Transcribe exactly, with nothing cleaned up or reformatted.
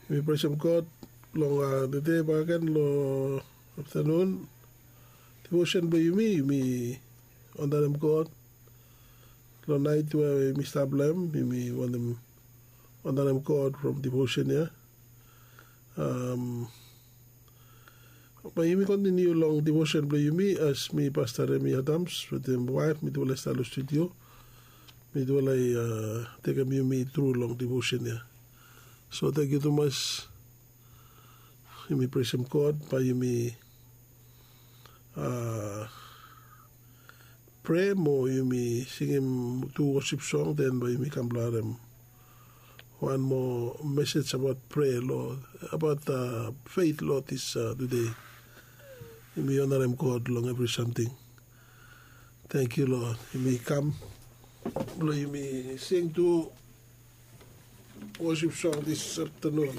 Yumi presem God long tede bakegen long aftanun. Devotion blong yumi, yumi wantarem God long nait we yumi stap long hem, yumi wantem wantarem God from devotion ya. Bae yumi kontiniu long devotion blong yumi as mi, Pasta Remi Adams, wetem waef, mitufala i stap long studio. Mitufala i tekem yumi tru long devotion ya. So tangkiu tumas. Yumi presem God bae yumi prea mo yumi singim tu wosip song, den bae yumi kam blong harem wan moa mesej abaot prea, Lord, abaot feit, Lord, dis tude. Yumi onarem God long evri samting. Tangkiu, Lord, yumi kam blong yumi sing tu wosip song dis aftanun.